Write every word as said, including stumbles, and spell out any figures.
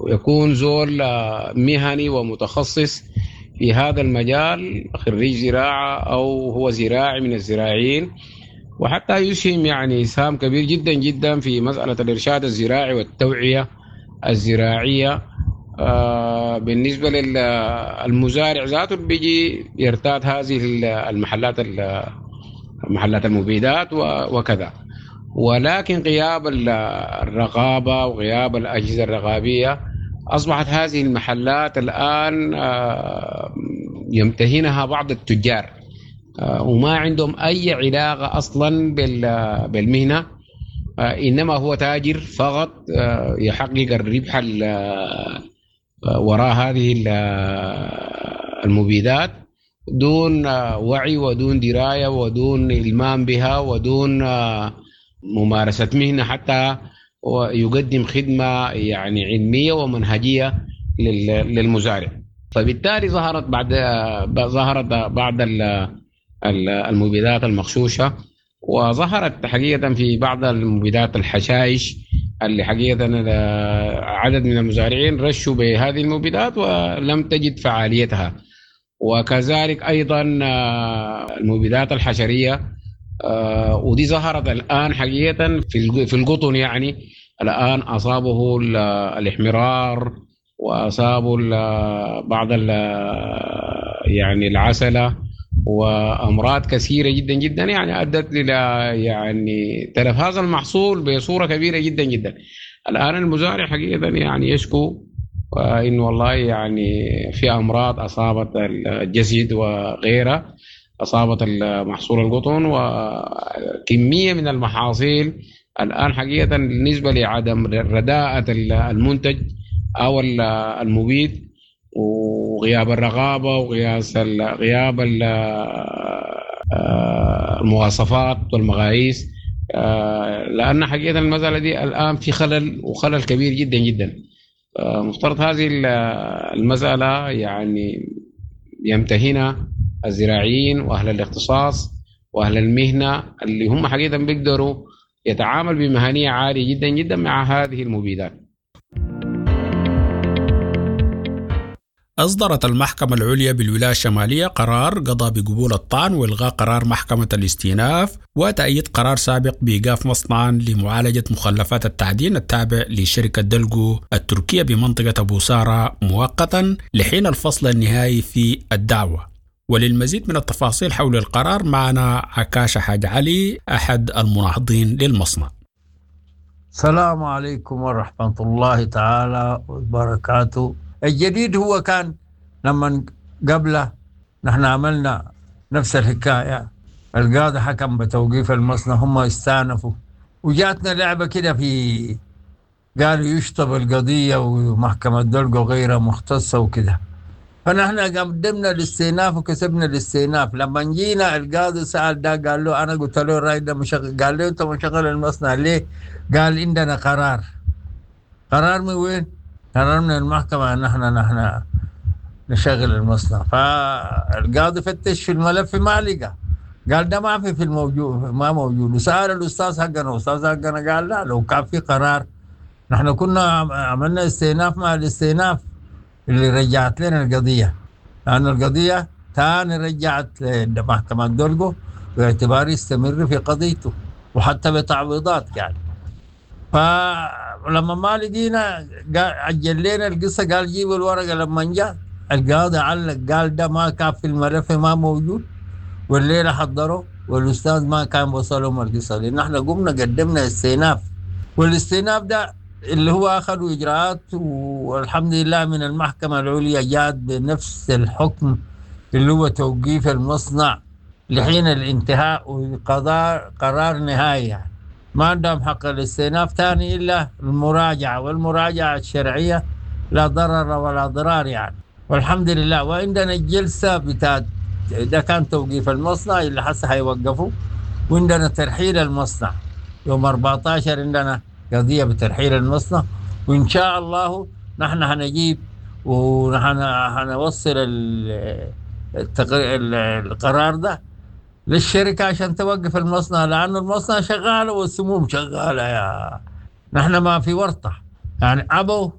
يكون زول مهني ومتخصص في هذا المجال، خريج زراعة أو هو زراعي من الزراعيين، وحتى يسهم يعني إسهام كبير جدا جدا في مسألة الإرشاد الزراعي والتوعية الزراعية. آه، بالنسبة للمزارع ذاته بيجي يرتاد هذه المحلات محلات المبيدات وكذا، ولكن غياب الرقابة وغياب الأجهزة الرقابية أصبحت هذه المحلات الآن آه، يمتهنها بعض التجار، آه، وما عندهم أي علاقة أصلا بالمهنة، إنما هو تاجر فقط يحقق الربح وراء هذه المبيدات دون وعي ودون دراية ودون إلمام بها ودون ممارسة مهنة حتى ويقدم خدمة يعني علمية ومنهجية للمزارع. فبالتالي ظهرت بعد ظهرت بعض المبيدات المغشوشة، وظهرت حقيقة في بعض المبيدات الحشائش اللي حقيقة عدد من المزارعين رشوا بهذه المبيدات ولم تجد فعاليتها. وكذلك أيضا المبيدات الحشرية، ودي ظهرت الآن حقيقة في القطن، يعني الآن أصابه الإحمرار وأصابه بعض يعني العسلة وأمراض كثيرة جدا جدا، يعني أدت إلى يعني تلف هذا المحصول بصورة كبيرة جدا جدا. الآن المزارع حقيقة يعني يشكو إنه والله يعني في أمراض أصابت الجسد وغيرها، أصابت المحصول القطن وكمية من المحاصيل الآن حقيقة بالنسبة لعدم رداءة المنتج أو المبيد وغياب الرقابة وغياب غياب المواصفات والمقاييس، لأن حقيقة المسألة دي الآن في خلل، وخلل كبير جدا جدا. مفترض هذه المسألة يعني يمتهنها الزراعيين وأهل الاختصاص وأهل المهنة اللي هم حقيقة بيقدروا يتعامل بمهنية عالية جدا جدا مع هذه المبيدات. أصدرت المحكمة العليا بالولاية الشمالية قرار قضى بقبول الطعن وإلغاء قرار محكمة الاستئناف وتأييد قرار سابق بإيقاف مصنعا لمعالجة مخلفات التعدين التابع لشركة دلجو التركية بمنطقة أبو سارة مؤقتا لحين الفصل النهائي في الدعوة. وللمزيد من التفاصيل حول القرار معنا عكاشة حاج علي أحد المناهضين للمصنع. السلام عليكم ورحمة الله تعالى وبركاته. الجديد هو كان لما قبله نحن عملنا نفس الحكاية، القاضي حكم بتوقيف المصنع، هم استأنفوا وجاتنا لعبة كده في قالوا يشطب القضية ومحكمة دلقو غيرها مختصة وكده، فنحن قدمنا الاستئناف وكسبنا الاستئناف. لما جينا القاضي سأل ده قال له أنا قلت له الراي ده مشغل، قال له أنت مشغل المصنع ليه؟ قال عندنا قرار. قرار من وين؟ قرار من المحكمة أن نحن نحن نشغل المصنع. فالقاضي فتش في الملف ما لقى، قال ده ما في في الموجود، ما موجود. وسأل الأستاذ حقنا، الأستاذ حقنا قال لا، لو كان في قرار نحن كنا عملنا استئناف مع الاستئناف اللي رجعت لنا القضية، لأن القضية تاني رجعت لمحكمة دولجو باعتبار يستمر في قضيته وحتى بتعويضات يعني. فلما ما لقينا عجل لنا القصة، قال جيبوا الورقة. لما جاء القاضي علق قال ده ما كان في الملف، ما موجود، والليلة حضروا والأستاذ ما كان وصلهم القصة، لأن احنا قمنا قدمنا استئناف، والاستئناف ده اللي هو أخذوا إجراءات، والحمد لله من المحكمة العليا جات بنفس الحكم اللي هو توقيف المصنع لحين الانتهاء وقضاء قرار نهائي يعني. ما عندهم حق الاستئناف ثاني إلا المراجعة، والمراجعة الشرعية لا ضرر ولا ضرار يعني، والحمد لله. وعندنا الجلسة بتاعت ده كان توقيف المصنع اللي حسه هيوقفوا، وعندنا ترحيل المصنع يوم أربعة عشر، عندنا قضية بترحيل المصنع، وإن شاء الله نحن هنجيب ونحن هنوصل القرار ده للشركة عشان توقف المصنع، لأنه المصنع شغال والسموم شغالة يا نحن ما في ورطة يعني. أبوا